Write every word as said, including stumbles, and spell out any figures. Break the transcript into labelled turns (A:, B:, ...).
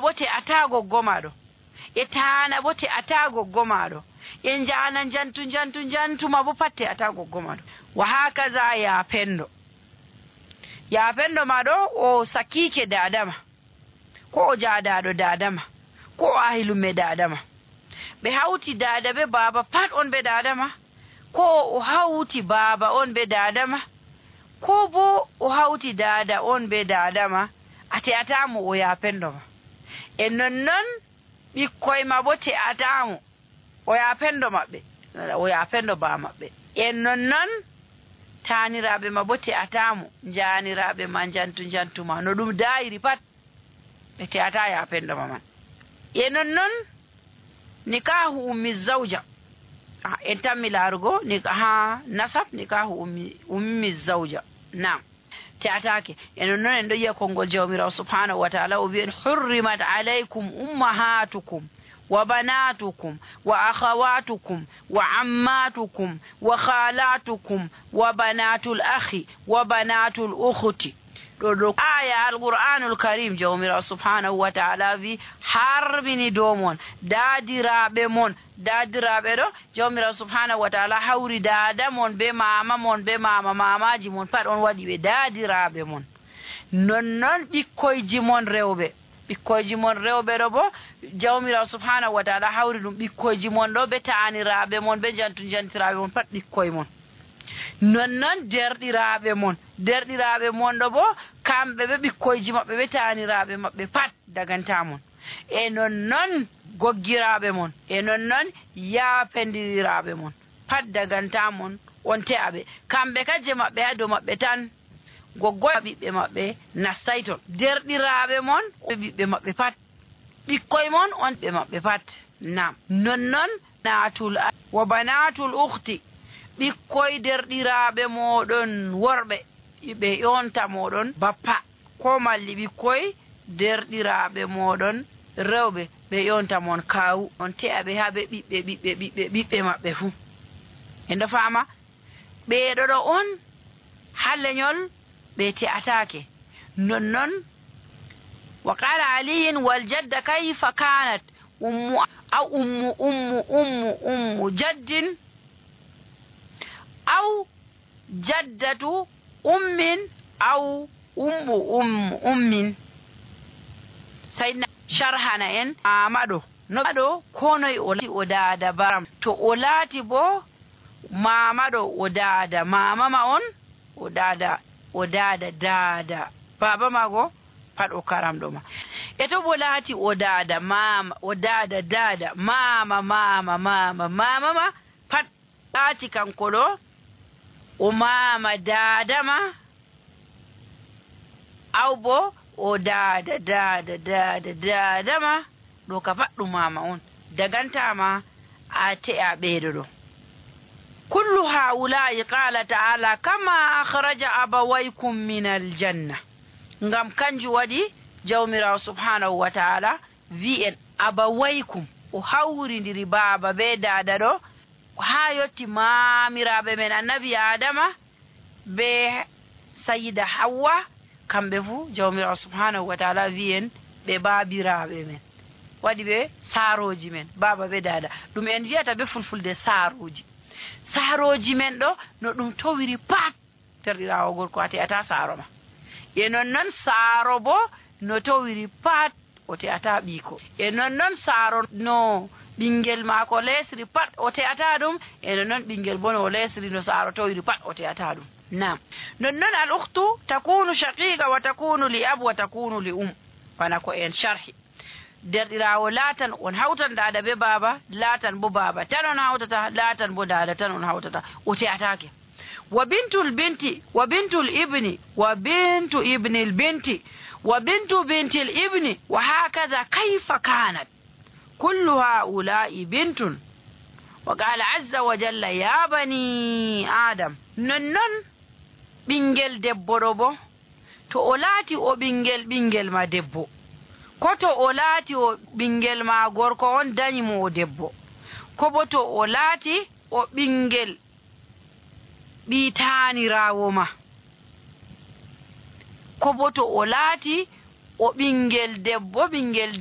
A: ma bo te ata goggo maɗo, e tana bo te ata goggo maɗo, e njana jantu jantu jantuma bo pat te ata goggo maɗo. Wa hakaza ya pendo, ya pendo maɗo o sakike dadama, ko o jadaɗo dadama, ko o ahilume dadama, ɓe hawti dada be baba pat on be dadama, ko o hawti baba on be dadama, ko bo o hawti dada on be dadama, ate atamo o ya pendo ma. E nonnon ɓikkoy ma bo te atamo o ya pendo maɓɓe, o ya pendo ba maɓɓe. E nonnon taniraɓe ma bo te atamo, janiraɓe ma jantu jantuma no ɗum dayiri pat ɓe te ata ya pendo ma man. E nonnon nikahu ummi zawja, en tammi larugo ha nasab nikahu ummi ummi zawja, nam te atake. E nonnon en ɗo yiya konngol jawmirawo subhanahu wa ta'ala o wi'en hurrimat alaykum ummahatukum wa banatukum wa akhawatukum wa ammatukum wa khalatukum wa banatul akhi wa banatul ukhti. ɗo ɗo aya alqur'anul karim jawmirawo subhanahu wa ta'ala wi harmini dow mon daadiraɓe mon. Daadiraɓe ɗo jawmirawo subhanahu wa ta'ala hawri dada mon be mama mon be mama mamaji mon pat on waɗi ɓe daadiraɓe mon. Nonnon ɓikkoyji mon rewɓe, ɓikkoyji mon rewɓe ɗo bo jawmirawo subhanahu wa ta'ala hawri ɗum ɓikkoyji mon ɗo be taniraɓe mon be jantu jantiraɓe mon pat ɓikkoye mon. Nonnon derɗiraɓe mon, derɗiraɓe mon ɗo bo kamɓe ɓe ɓikkoyji maɓɓe ɓe taniraɓe maɓɓe pat daganta mon. E nonnon goggiraɓe mon, e nonnon yaapendiraɓe mon pat daganta mon on te'aɓe. Kamɓe kajje maɓɓe ha dow maɓɓe tan, goggoya ɓiɓɓe maɓɓe nastay ton. Derɗiraɓe mon ɓiɓɓe maɓɓe pat, ɓikkoye mon on ɓe maɓɓe pat. Nam nonnon natul wa banatul ukhti, ɓikkoy derɗiraɓe moɗon worɓe ɓe yonta moɗon bappa, ko malli ɓikkoy derɗiraɓe moɗon rewɓe ɓe yonta mon kawu. On te'aɓe ha ɓe ɓiɓɓe ɓiɓɓe ɓiɓɓe ɓiɓɓe maɓɓe fuu. En ɗo fama ɓeɗo ɗo on ha leñol ɓe te'atake. Nonnon wa qala aliyin wal jadda kayfa kanat ummu aw ummu ummu ummu ummu jaddin aw jaddatu ummin aw ummu ummu ummin. Sayna sharhana en amaɗo no ɗo konoy o laati o dada baram, to o laati bo mamaɗo o dada mamama on, o dada o dada dada baba mago pat o karamɗo ma. E to bo laati o dada mama o dada dada mama mama mama mama ma pat laati kanko ɗo o mama dada ma, aw bo o dada dada dada dada ma, ɗo ka pat ɗum mama on dagantama a te'a ɓeɗo ɗo. kullu haula'i qala ta'ala kama akhraja abawaykum min aljanna. Ngam kanju waɗi jawmirawo subhanahu wa ta'ala wi en abawaykum o hawrindiri baba be dada ɗo ha yotti mamiraɓe men annabi adama be sayida hawwa, kamɓe fuu jawmirawo subhanahu wa ta'ala wi en ɓe babiraɓe men, waɗi ɓe saroji men baba be dada. ɗum en wiyata be fulfulde saroji. Saroji men ɗo no ɗum towiri pat terɗirawo gorko ate ata saro ma. E nonnon saro bo no towiri pat o te'ata ɓiiko. E nonnon saro no ɓingel maako lesri pat o te'ata ɗum, e nonnon ɓingel bo no lesri no saro towiri pat o te'ata ɗum. Nam nonnon al ukhtu takunu shaqiqa wa takunu li ab wa takunu li um, bana ko en sharhi. Derɗirawo laatan on hawtan dada be baba, laatan bo baba tan on hawtata, laatan bo dada tan on hawtata, o te'atake. Wa bintul binti wa bintul ibni wa bintu ibnil binti wa bintu bintil ibni wa hakaza kayfa kanat kullu haula'i bintun. Wa qala azza wa jalla ya bani adam. Nonnon ɓingel debbo ɗo bo to o laati o ɓingel ɓingel ma debbo, ko to o laati o ɓingel ma gorko on dañi mo o debbo, ko bo to o laati o ɓingel ɓi taanirawo ma, ko bo to o laati o ɓingel debbo ɓingel